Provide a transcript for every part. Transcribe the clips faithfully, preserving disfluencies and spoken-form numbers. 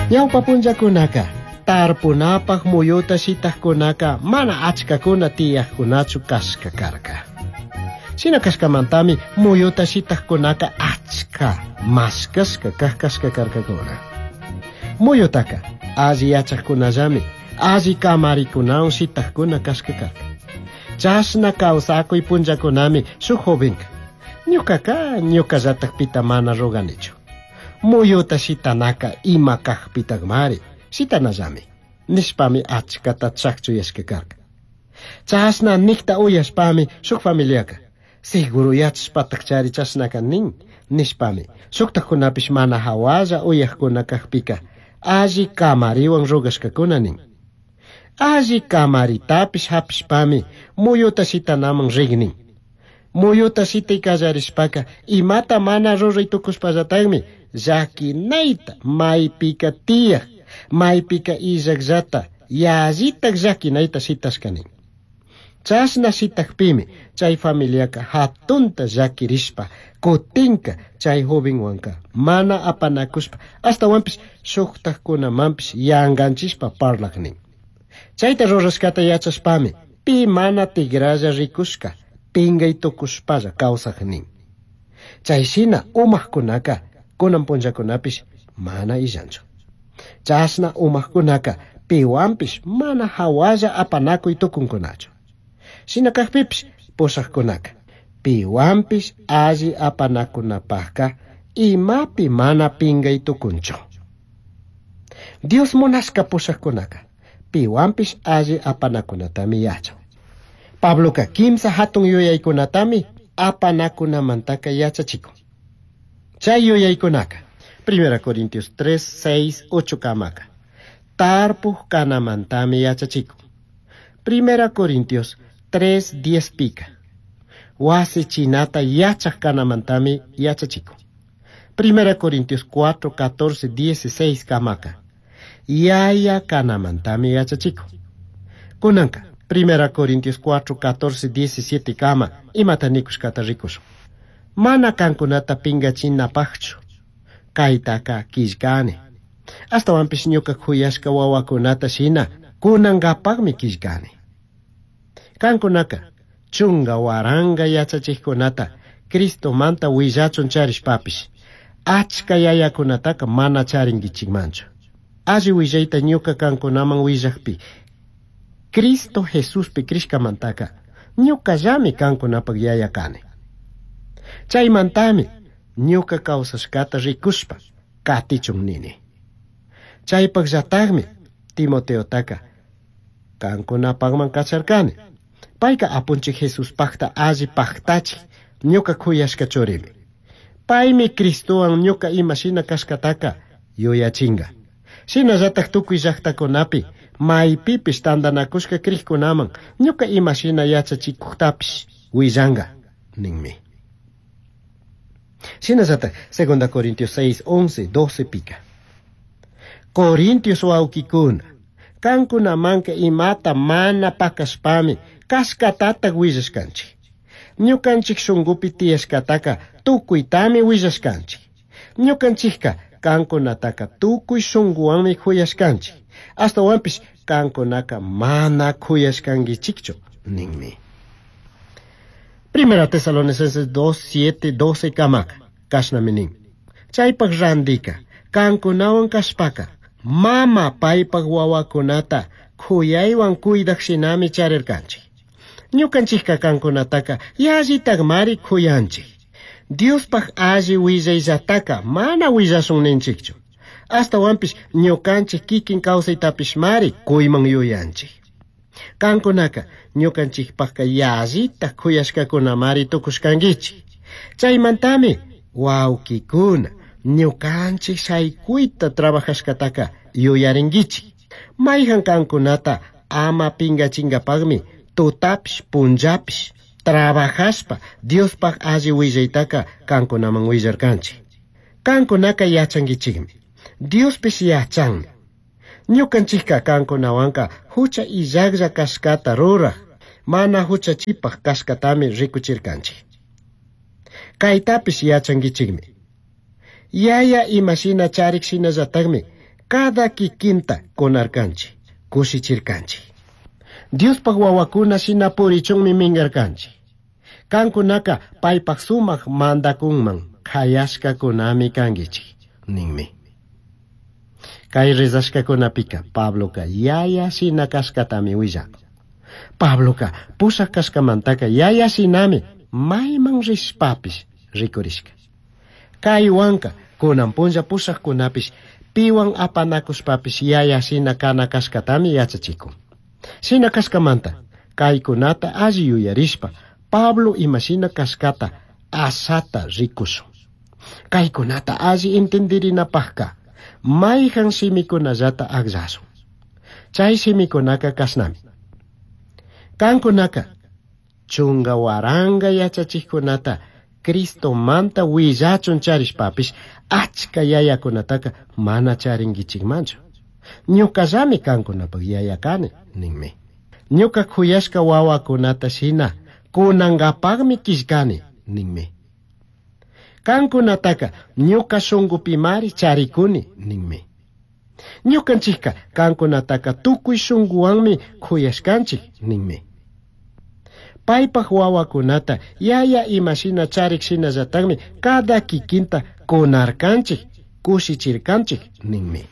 Ñawpa punllakunaka tarpunapaj muyuta shitajkunaka mana achkakuna tiyajkunachu kashka karka. Shina kashkamantami muyuta shitajkunaka achka mashkashka kaj kashka karkakuna. Muyutaka alli yachajkunallami alli kamarikunawan shitajkuna kashka karka. Chashna kawsakuy punllakunami shuk jovenka ñukaka ñukallatakpita mana ruganichu. Muyuta shitanaka ima kajpitakmari shitanallami nishpami achkata chakchuyashka karka. Chashna nikta uyashpami shuk familiaka seguro yachashpatakchari chashnaka nin nishpami shuktakunapish mana hawalla uyajkuna kajpika alli kamariwan rurashkakuna nin. Alli kamaritapish hapishpami muyuta shitanaman rik nin. Muyuta shitay kallarishpaka imata mana ruray tukushpallatakmi llakinayta maypika tiyaj maypika illakllata yallitak llakinayta shitashka nin. Chashna shitakpimi chay familiaka hatunta llakirishpa kutinka chay jovenwanka mana apanakushpa ashtawanpish shuktakkunamanpish yanganchishpa parlak nin. Chayta rurashkata yachashpami pi mana tigralla rikushka pingay tukushpalla kawsak nin. Chay shina umajkunaka kunan punllakunapish mana illanchu. Chashna umajkunaka piwanpish mana hawalla apanakuy tukunkunachu. Shina kajpipish pushajkunaka piwanpish alli apanakunapajka imapi mana pingay tukunchu. Dios munashka pushajkunaka piwanpish alli apanakunatami yachan. Pabloka kimsa hatun yuyaykunatami apanakunamantaka yachachikun. Chay yuyaykunaka Primera Corintios tres, seis, ocho kamaka tarpuj kanamantami yachachikun. Primera Corintios tres, diez pika wasi chinata yachaj kanamantami yachachikun. Primera Corintios cuatro, catorce, dieciséis kamaka yaya kanamantami yachachikun. Kunanka Primera Corintios cuatro, catorce, diecisiete kama imata nikushkata rikushun. Mana kankunata pingachinapajchu kaytaka killkani. Ashtawanpish ñuka kuyashka wawakunata shina kunankapakmi killkani. Kankunaka chunga waranga yachachikkunata Cristomanta willachun charishpapish achka yayakunataka mana charinkichikmanchu. Alli willayta ñuka kankunaman willakpi Cristo Jesuspi crishkamantaka ñukallami kankunapak yaya kani. Chaymantami ñuka kawsashkata rikushpa katichun nini. Chaypakllatakmi Timoteotaka kankunapakman kacharkani. Payka apunchik Jesuspakta alli paktachik ñuka kuyashka churimi. Paymi Cristowan ñuka imashina kashkataka yuyachinga. Shinallatak tukuy llaktakunapi maypipish tantanakushka krikkunaman ñuka imashina yachachikuktapish willanga ninmi. Shinallatak Segunda Corintios seis, once, doce pika. Corintios wawkikuna, kankunamanka imata mana pakashpami kashkatatak willashkanchik. Ñukanchik shunkupi tiyashkataka tukuytami willashkanchik. Ñukanchikka kankunataka tukuy shunkuwanmi kuyashkanchik. Ashtawanpish kankunaka mana kuyashkankichikchu ninmi. Primera Tesalonicenses dos, siete, doce kamaka kashnami nin. Chaypak randika kankunawan kashpaka mama paypak wawakunata kuyaywan kuydak shinami charirkanchik. Ñukanchikka kankunataka yallitakmari kuyanchik. Diospaj alli willayllataka mana willashun ninchikchu. Ashtawanpish ñukanchik kikin kawsaytapishmari kuyman yuyanchik. Kankunaka ñukanchikpajka yallitak kuyashkakunamari tukushkankichik. Chaymantami wawkikuna ñukanchik shaykuyta trabajashkataka yuyarinkichik. Mayhan kankunata ama pingachingapakmi tutapish punllapish trabajashpa Diospaj alli willaytaka kankunaman willarkanchik. Kankunaka yachankichikmi. Diospish yachanmi. Ñukanchikka kankunawanka hucha illaklla kashkata ruraj, mana huchachipaj kashkatami rikuchirkanchik. Kaytapish yachankichikmi. Yaya imashina charik shinallatakmi Cada kikinta kunarkanchik, kushichirkanchik. Diospaj wawakuna shina purichunmi mingarkanchik. Kankunaka paypaj sumak mandakunman kayashkakunami kankichik, ninmi. Kay rezashkakunapika Pabloka yaya shina kashkatami willakun. Pabloka pushak kashkamantaka yaya shinami mayman rishpapish rikurishka. Kaywanka kunan punlla pushakkunapish piwan apanakushpapish yaya shina kana kashkatami yachachikun. Shina kashkamanta kaykunata alli yuyarishpa Pablo imashina kashkata asata rikushun. Kaykunata alli entendirinapajka mayhan shimikunallata akllashun. Chay shimikunaka kashnami. Kankunaka chunga waranga yachachikkunata Cristomanta willachun charishpapish achka yayakunataka mana charinkichikmanchu. Ñuqallami kankunapaq yaya kani, ninmi. Ñuqa khuyashka wawakunata shina kunankapaqmi killkani, ninmi. Kankunataka ñuqa shunqupimari charikuni, ninmi. Ñuqanchikka kankunataka tukuy shunquwanmi khuyashkanchik, ninmi. Paypaq wawakunata yaya imashina charik shinallataqmi cada kikinta kunarkanchik, kushichirkanchik, ninmi.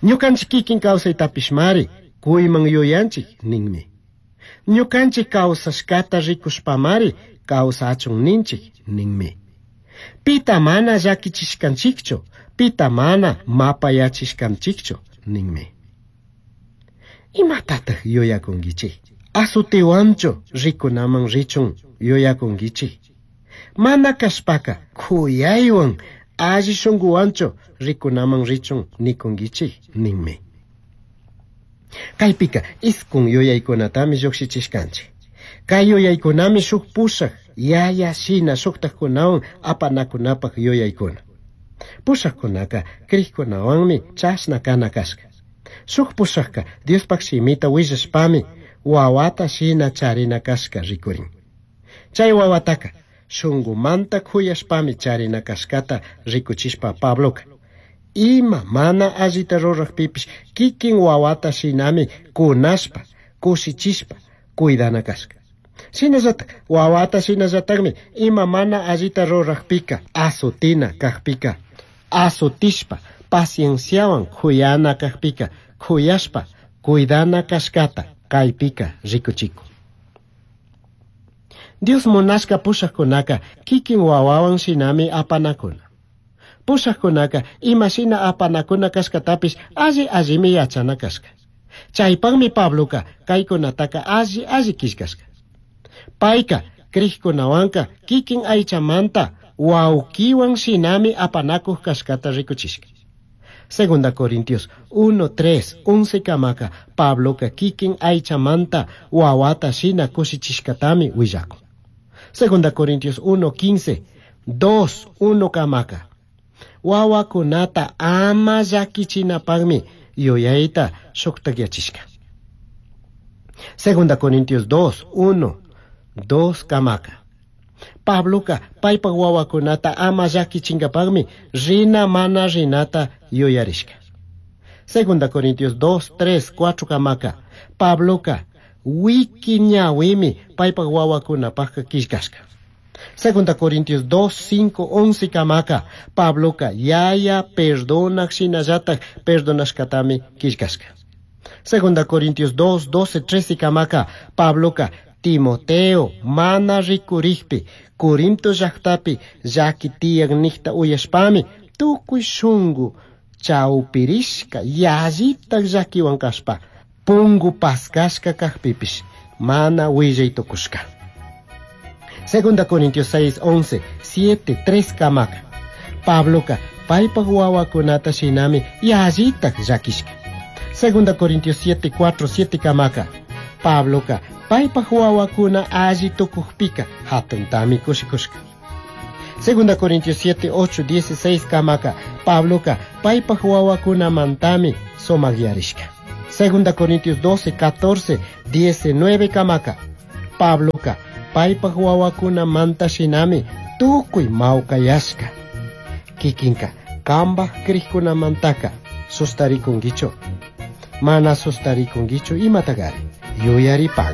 Ñuqanchik kikin kawsaytapishmari kuyman yuyanchik, ninmi. Ñuqanchik kawsashkata rikushpamari kawsachun ninchik, ninmi. Pita mana llakichishkanchikchu, pita mana mapayachishkanchikchu, ninmi. Imatataq yuyakunkichik? Asutiwanchu rikunaman richun yuyakunkichik? Mana kashpaka khuyaywan alli shunquwanchu rikunaman richun nikunkichik, ninmi. Kaypika iskun yuyaykunatami lluqshichishkanchik. Kay yuyaykunami shuk pushak yaya shina shuktakkunawan apanakunapaq yuyaykuna. Pushakkunaka krikkunawanmi chashna kana kashka. Shuk pushakka Diospaq shimita willashpami wawata shina charina kashka rikurin. Chay wawataka shunqumanta khuyashpami charina kashkata rikuchishpa Pabloka ima mana allita ruraqpipish kikin wawata shinami kunashpa, kushichishpa cuidana kashka. Shinallatak wawata shinallataqmi ima mana allita ruraqpika asutina kaqpika asutishpa pacienciawan khuyana kaqpika khuyashpa cuidana kashkata kaypika rikuchikun. Dios munashka pushakkunaka kikin wawawan shinami apanakuna. Pushakkunaka imashina apanakuna kashkatapish alli allimi yachana kashka. Chaypaqmi Pabloka kaykunataka alli alli killkashka. Payka krikkunawanka kikin aychamanta wawkiwan shinami apanakuq kashkata rikuchishka. Segunda Corintios uno, tres, once kamaka Pabloka kikin aychamanta wawata shina kushichishkatami willakun. Segunda Corintios uno, quince, dos, uno kamaka wawakunata ama llakichinapaqmi yuyayta shuktakyachishka. Segunda Corintios dos, uno, dos kamaka Pabloka paypaq wawakunata ama llakichinkapaqmi rina mana rinata yuyarishka. Segunda Corintios dos, tres, cuatro kamaka Pabloka wiki ñawimi paypaq wawakunapaqqa killkashka. Segunda Corintios dos, cinco, once kamaka Pabloka yaya perdonak shinallatak perdonashkatami killkashka. Segunda Corintios dos, doce, trece kamaka Pabloka Timoteo mana rikurikpi Corinto llaqtapi llaki tiyak niqta uyashpami tukuy shunqu chawpirishka yallitak llakiwan kashpa pungu paskashka kaqpipish mana willay tukushka. Segunda Corintios seis, once, siete, tres kamaka Pabloka paypaq wawakunata shinami yallitak llakishka. Segunda Corintios siete, cuatro, siete kamaka Pabloka paypaq wawakuna alli tukuqpika hatuntami kushikushka. Segunda Corintios siete, ocho, dieciséis kamaka Pabloka paypaq wawakunamantami sumakyarishka. Segunda Corintios doce, catorce, diecinueve kamaka Pabloka paypaq wawakunamanta shinami tukuy mawkayashka. Kikinka kambaq krikkunamantaka Sustaricunguichu. Mana sustaricunguichu imatagari. Yuyaripangui.